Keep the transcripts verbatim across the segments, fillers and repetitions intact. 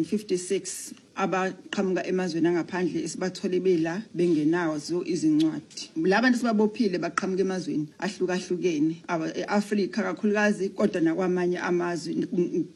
fifty-six abaqhamuka emazweni angaphandle esibathole bela bengenazo izincwadi. Labantu sibabophile baqhamuka emazweni ahlukahlukene e-Afrika kakhulukazi, kodwa nakwamanye amazwe,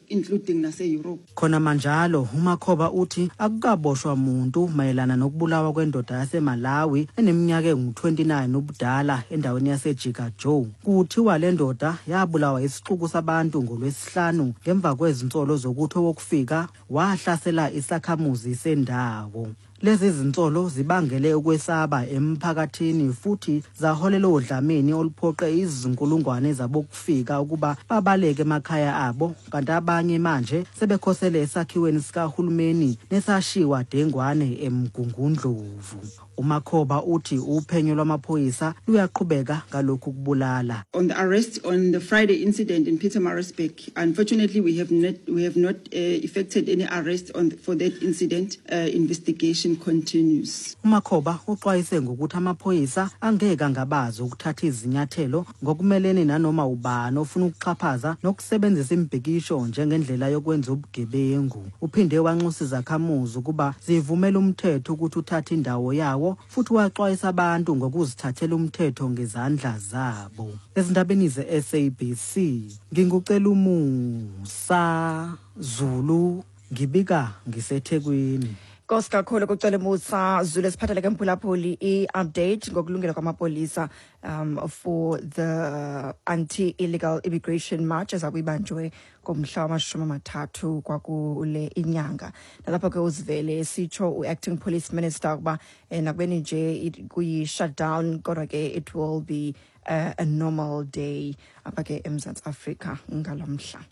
including nase-Europe. Khona manjalo, uMakhoba uthi akukaboshwa muntu mayelana nokubulawa kwendoda yaseMalawi eneminyaka engu twenty-nine ubudala endaweni yaseJika Joe. Kuthiwa le ndoda yabulawa isixuku sabantu ngolwesihlanu ngemva kwezinsolo zokuthi owokufika wahlasela isakhamuzi sendawo. Lezi zinsolo zibangele ukwesaba emphakathini futhi zaholela odlameni oluphoqe izinkulungwane zabokufika ukuba babaleke emakhaya abo, kanti abanye manje sebekhosele esakhiweni sikahulumeni nesashiwa dengwane eMgungundlovu. UMakhoba uthi uphenyo lwamaphoyisa luyaqhubeka ngalokhu kubulala. On the arrest on the Friday incident in Pietermaritzburg, unfortunately we have not we have not uh, effected any arrest on the, for that incident. Uh, investigation continues. UMakhoba uxwayise ngokuthi amaphoyisa angeke angabazi ukuthatha izinyathelo ngokumelene nanoma ubani ofuna ukuxhaphaza nokusebenzisa imibhikisho njengendlela yokwenza ubugebengu. Uphinde wanxusa izakhamuzi ukuba zivumele umthetho ukuthi uthathe indawo yawo, futhi waxwayisa abantu ngokuzithathela umthetho ngezandla zabo. Ezindabeni ze-S A B C, ngingucela umusa Zulu, ngibika ngiseThekwini. Nkosi kakhulu kucela Musa Zulu. Siphathele ke, mphulaphuli, i-update ngokulungela kwamapolisa um for the anti-illegal immigration march ezabe ibanjwe ngomhla wamashumi amathathu kwakule inyanga. Nalapho ke uzivele sitsho u-acting police minister ukuba eh, nakubeni nje kuyi-shutdown, kodwa ke it will be uh, a normal day apha ke eMzantsi Afrika ngalo mhla.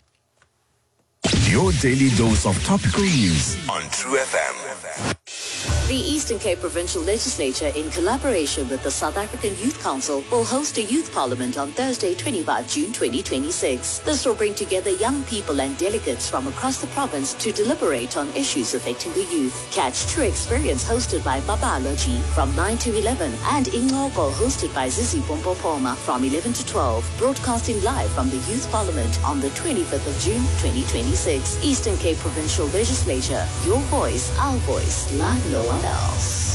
Your daily dose of topical news on True F M. The Eastern Cape Provincial Legislature, in collaboration with the South African Youth Council, will host a youth parliament on Thursday, twenty-fifth June twenty twenty-six. This will bring together young people and delegates from across the province to deliberate on issues affecting the youth. Catch True Experience, hosted by Baba Lochi, from nine to eleven and Ingoko, hosted by Zizi Pompopoma, from eleven to twelve, broadcasting live from the Youth Parliament on the twenty-fifth of June twenty twenty-six. Eastern Cape Provincial Legislature, your voice, our voice, like no one else.